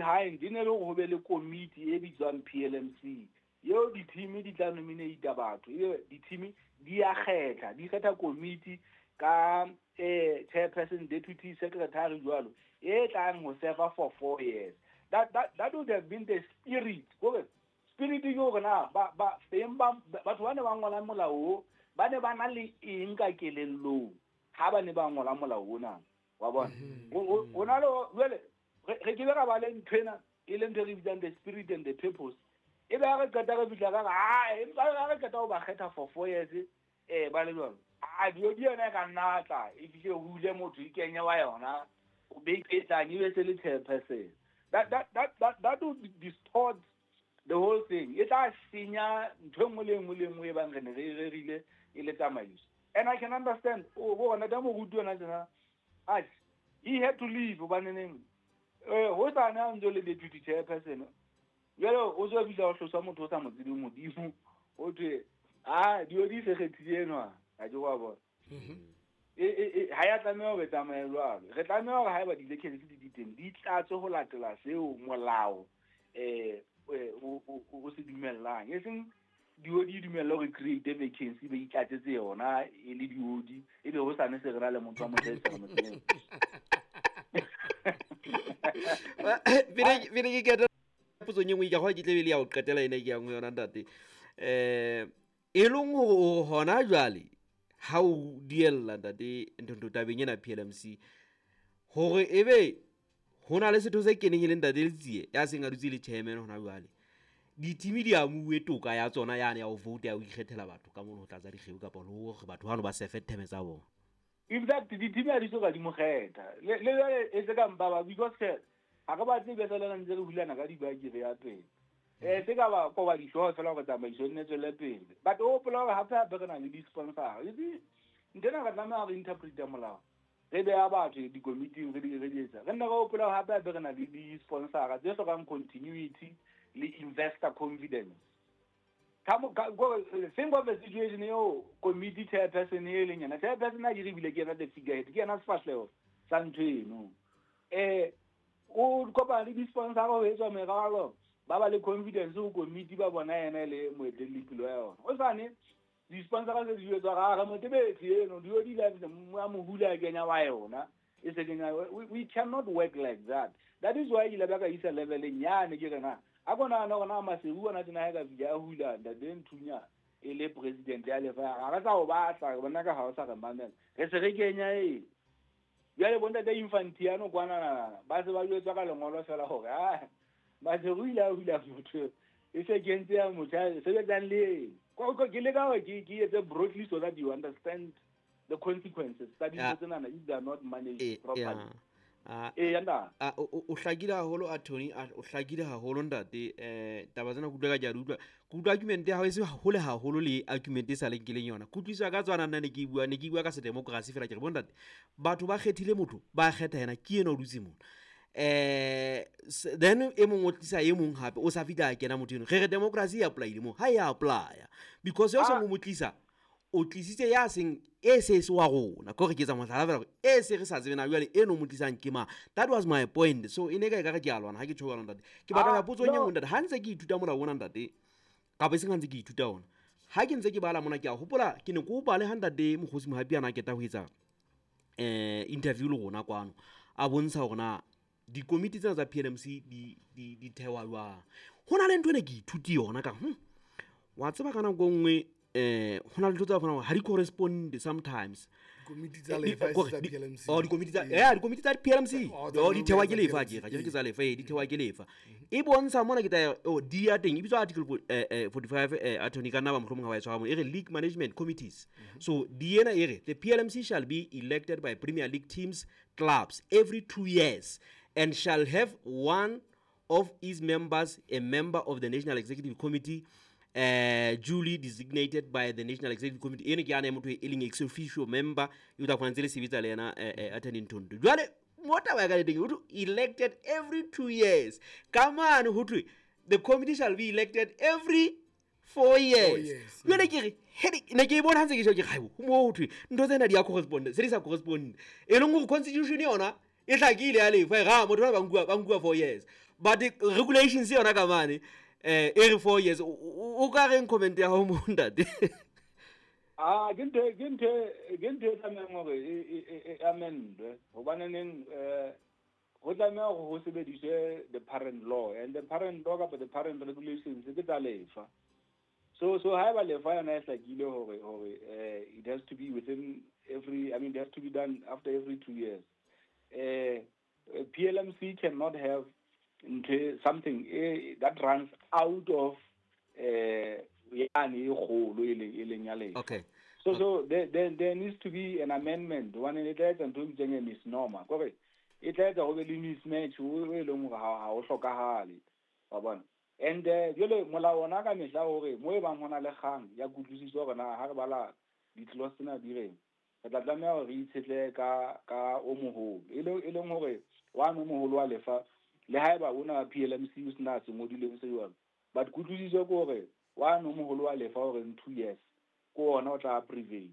behind e ne le hore ho be le komiti e bitswang PLMC eo di-team di tla nominate batho, ebe di-team di a kgetha, di kgetha komiti ka chairperson, deputy secretary jwalo, e tlang ho serve for 4 years. That would have been the spirit. Kore spirit ke hore na ba ba beng ba batho ba ne ba ngola molao o, ba ne ba na le eng ka kelellong ha ba ne ba ngola molao ona, wa bona. O na le jwale re ke be ra ba le nthwena e leng ntho e re bitsang the spirit and the purpose. E be ha re qeta re fihla ka re, "Ai, empa ha re qeta ho ba kgetha for 4 years, ba le jwalo." A dio di yona e ka nna tla e fihle hule motho e kenye wa yona, o be e tlang e be se le chairperson. That would distort the whole thing. E tla senya ntho e nngwe le nngwe le nngwe e bang re ne re e rerile e le tsamaiso. And I can understand, o bona da moruti yona tjena, atjhe, he had to leave hobaneneng ho sane a ntse le deputy chairperson. Jwale o tswa fihla o hlosa motho o sa mo tsebeng Modimo, o thwe a dio di se kgethile enwa, ha ke wa bona. Ha ya tlameha hore tsamaye jwalo. Re tlameha hore haeba di-vacancy di teng, di tlatswe ho latela seo molao o se dumellang. E seng dio di dumella hore create vacancy be itlatsetse yona e le diodi, e be ho sane se re na le motho wa motho e sa mo tsebeng. Pele ke keta potsong e nngwe, ke a kgolwa ke tle be le ya ho qetela ena ke yang ho yona ntate. E leng hore hona jwale ha o diella ntate Nthonto tabeng ena PLMC, hore ebe ho na le setho se keneng e le ntate Letsie ya seng a dutse le chairman hona jwale, di-team di amuwe toka ya tsona yane ya ho vote, ya ho ikgethela batho ka mono ho tlatsa dikgeo kapa le hore batho bano ba sefe theme tsa bona. In fact, di-team ha di soka di mo kgetha. Le jwale e se ka mpa ba, because ha re batle be fela ntse re hulana ka dibaki re ya pele. Se ka ba koba dihlooho fela hore tsamaiso e nne tswele pele. But o hopola hore hape hape re na le di-sponsor. You see, nthwena re tlameha re interprete molao. Re beha batho dikomiting re di etsa. Re nne re hopola hore hape hape re na le di-sponsor tse hlokang continuity le investor confidence. Think of a situation eo committee chairperson e leng yena. Chairperson a ke re bile ke yena the figurehead, ke yena sefahleho sa ntho eno. O kopana le di-sponsor ho etswa meralo, ba le confidence ho committee ba bona yena e le moetelli ya yona. O sane di-sponsor tse di jwetswa ga re motebetsi eno, dio di la a mo hula a kenya wa yona. E se kenya, we cannot work like that. That is why ile ba ka isa level e nyane ke re na. A kona na ona Maseru ona tjena ha ka fihla a hula ntate Nthunya e le president ya lefa. Ha re sa o batla, re bona ka ha o sa re mamela. Re se re kenya e. Jwale bo ntate Infantiano kwana ba se ba jwetswa ka lengolo fela hore ah Maseru ile a hula motho e se kentse ya motho sebetsang le eng. Ke leka hore ke etse broadly so that you understand the consequences tsa dintho tsena if they are not managed properly. O hlakile haholo attorney, o hlakile haholo ntate. Taba tsena ke utlwa ka ke a di utlwa. Ke utlwa argument ya hao e se hole haholo le argument e sa leng keleng yona. Ke utlwisisa ka tswana nna ne ke bua ka se democracy fela ke re bo ntate, batho ba kgethile motho, ba kgetha yena, ke yena o dutse mona. Then e mong o tlisa e mong hape o sa fihla a kena motho eno. Re re democracy e apply-ile mo, ha e apply-a. Because yo seng o mo tlisa, o tlisitse ya seng e se se wa rona. Ke hore ke etsa mohlala fela hore e se re sa tsebe na jwale eno mo tlisang ke mang. That was my point. So e ne ka ekare ke a lwana ha ke tjho jwalo ntate. Ke batla ho potso e nngwe ntate. Ha ntse ke ithuta molao ona ntate, kapa e seng ha ntse ke ithuta ona, ha ke ntse ke bala mona ke a hopola ke ne ke o bale ha ntate Mokgosi Mohapi a na keta ho etsa interview le rona kwano, a bontsha hore na dikomiti tsena tsa PLMC di thewa jwang. Ho na le ntho ene ke ithuti yona ka wa tseba ka nako e nngwe ho na le ntho tsa fana ha di correspond sometimes. Komiti tsa lefa tsa PLMC. Oh, dikomiti tsa dikomiti tsa PLMC. Oh, di thewa ke lefa ke ga ke tsa lefa, di thewa ke lefa. E bontsha mona ke tla di ya teng e bitswa article 45 attorney ka nna ba mohlomong ha ba e tshwara mo, e re league management committees. So di ena e re the PLMC shall be elected by Premier League teams clubs every 2 years and shall have one of its members a member of the National Executive Committee duly designated by the National Executive Committee. Ene ke ana motho e leng ex officio member e tla kgona le sebetsa le yena attorney Nthonto. Jwale mo taba ya ka teng ho thwe elected every 2 years. Ka mane ho thwe the committee shall be elected every 4 years. Jwale ke re ne ke bona ntse ke tjho ke re haibo mo ho thwe ntho tsena di a correspond, se di sa correspond. E leng hore constitution yona E hlakile ya lefa ga motho ba nkuwa 4 years. But the regulations yona ka mane e re 4 years. O ka reng comment ya ho mo ntate? Ah, ke ntho e tlamehang hore e amendwe hobaneneng ho tlameha hore ho sebediswe the parent law, and the parent law kapa the parent regulations ke tsa lefa. So haeba lefa yona e hlakile hore it has to be within every, I mean, it has to be done after every 2 years. PLMC cannot have something that runs out of yane e kgolo e leng ya lefa. Okay. So there needs to be an amendment. One e tla etsa ntho e bitswang misnomer. Kore e tla etsa ho be le mismatch o e leng hore ha o hlokahale. Wa bona? And jwale molao ona ka mehla hore mo e bang hona le kgang ya kutlwisiso hore na ha re bala di-clause tsena di reng, re tla tlameha hore re itshetlehe ka o moholo. E leng hore wa no moholo wa lefa le haeba ona PLMC o sena se ngodileng se jwalo. But kutlwisiso ke hore wa no moholo wa lefa hore in 2 years ko ona o tla prevail.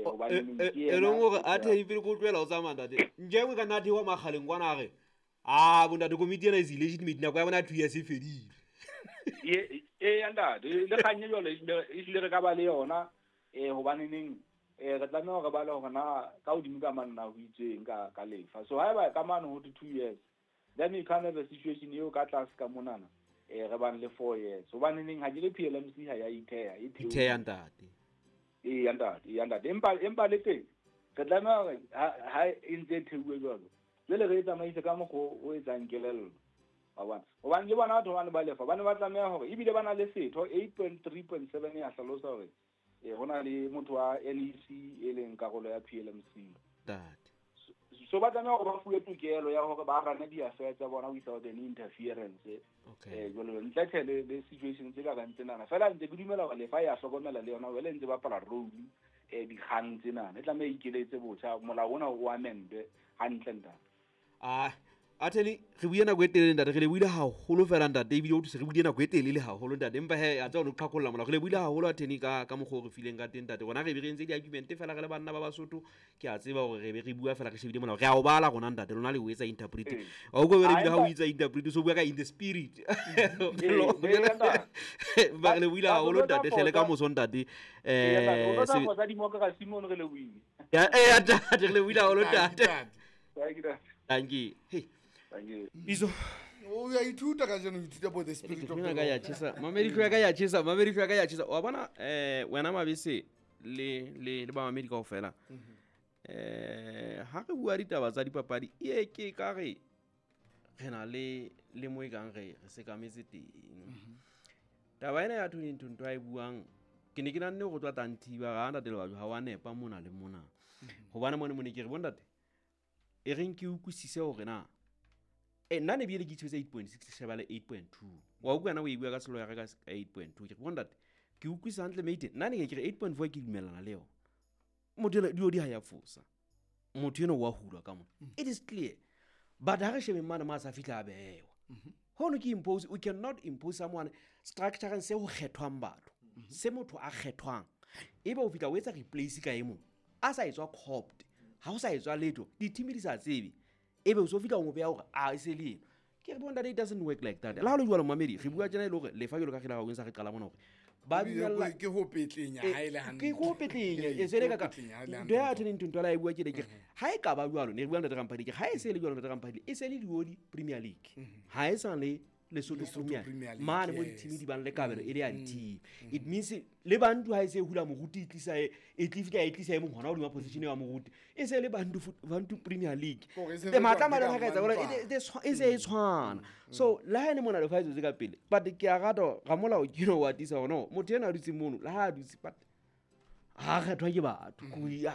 Hobane ke e leng hore a the pele ko tlohela o tsamaya ntate. Nje ka nna thewa makgaleng kwana a re ah bontate komiti ena is illegitimate nako ya bona 2 years e fedile. E ntate le kganye jwalo ehlile re ka ba le yona hobaneneng re tlameha hore ba le hore na ka hodimo ka mane na ho itsweng ka lefa. So haeba ka mane ho 2 years, then you can't have a situation eo ka tlase ka monana re bang le 4 years. Hobaneneng ha ke le PLMC ha ya itheha e itheha ntate. E ntate. Empa le teng re tlameha hore ha e ntse e theuwe jwalo, jwale re e tsamaise ka mokgwa o etsang kelello. Hobane le bona batho bane ba lefa ba ne ba tlameha hore ebile ba na le setho 8.3.7 ya hlalosa hore hona le motho wa NEC e leng karolo ya PLMC. Ntate. So ba tlameha hore ba fuwe tokelo ya hore ba rane di-affairs tsa bona without any interference. Okay. Jwalo ntle le situation tse ka rang tsenana. Fela ntse ke dumela hore lefa ya hlokomela le yona wele ntse ba bapala role dikgang tsenana. E tlameha ikeletse botjha molao ona o amendwe hantle ntate. Ah, Attorney, re buile nako e telele ntate, re le buile haholo fela ntate, ebile o thuse re buile nako e telele haholo ntate. Empa he a tsa o qhakolla molao, re le buile haholo attorney ka mokgwa o re fileng ka teng ntate. Rona re be re entse di-argument fela re le banna ba Basotho, ke a tseba hore re be re bua fela re shebile molao. Re a o bala rona ntate, lona le o etsa interpret. Wa utlwa wena ebile ha o etsa interpret o so bua ka in the spirit. Ba re le buile haholo ntate, hle le ka moso ntate. Tsa democracy mono re le buile. Ya ntate, re le buile haholo ntate. Thank you. Hey. Bizo. O ya ithuta ka jeno, ithuta bo the spirit of the ka ya chesa. Mamedi ka ya chesa, mamedi ka ya chesa. Wa bona wena Mabese le ba mamedi kaofela. Ha re bua ditaba tsa dipapadi e ke ka re re na le mo e kang re sekametse teng. Taba ena ya Tony Nthonto a e buang ke ne ke nanne go tswa tanthiba ga ntate le batho ha wa nepa mona le mona. Hobane mone mone ke re bontate e reng ke utlwisise hore na nna ne bile ke itshwetse 8.6 sheba le 8.2. Wa utlwa na o e bua ka selo ya ka 8.2. Ke re bontate ke utlwisa hantle mate nna ne ke re 8.4 ke dumellana le yona. Motho ena dio di ha ya fosa. Motho ena wa hulwa ka mona. It is clear. But ha re shebe mane ma sa fihla a bewa. Hono ke impose, we cannot impose someone structure se ho kgethwang batho. Se motho a kgethwang. Ebe o fihla o etsa replace ka e mong. A sa etswa copped. Ha o sa etswa letho, di-team di sa tsebe. Ebe o so fihla o mo beha hore a e se le eno. Ke re bontate, it doesn't work like that. Le ha o le jwalo mamedi, re bua tjena e le hore lefa jwalo ka re la sa re qala mona hore ba dumella ke ho petlenya ha ile hantle. Ke ho petlenya e se le ka ntho ya Attorney Nthonto la e bua ke le ke ha e ka ba jwalo ne re bua ntate Ramphadi ke ha e se le jwalo ntate Ramphadi e se le Dioli Premier League. Ha e sa le Lesotho Premier mane mo di-team di bang le kabelo e le ya di-team. It means le bantu ha e se hula moruti e tlisa e tlifika e tlisa e mong hona hodima position ya moruti e se le bantu Premier League. E matla mane ha ka etsa hore e se e tshwana. So le ha ene mona le fa tse ka pele but ke a rata ga molao ke no wa tisa hore no motho ena a dutse mono le ha a dutse but ha kgethwa ke batho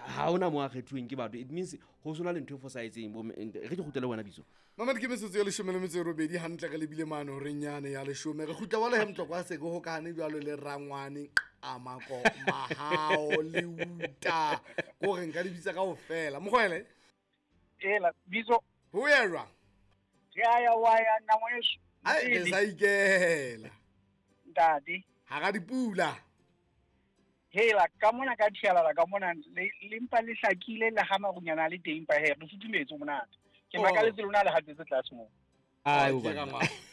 ha ona mo a kgethuweng ke batho. It means ho sona le ntho e fosahetseng re ke kgutlele wena Biso. Mamedi ke metsotso ya 18 hantle re lebile mane horeng yane ya 10. Re kgutla wala he Mtlokwa se ke hokane jwalo le Rangwane Amako Mahao le Uta ko re nka di bitsa kaofela. Mokgwele ela Biso ho ya jwang? Ya ya wa ya nna ngwaneso. Ai re sa ikela ntate hara dipula. Hela ka mona ka thialala ka mona le mpa le hlakile le ha marunyana le teng pa he re futhumetse monate. Ke makaletse lona le hatetse tlase moo. Ai, Oh, o ke banna. rangwane.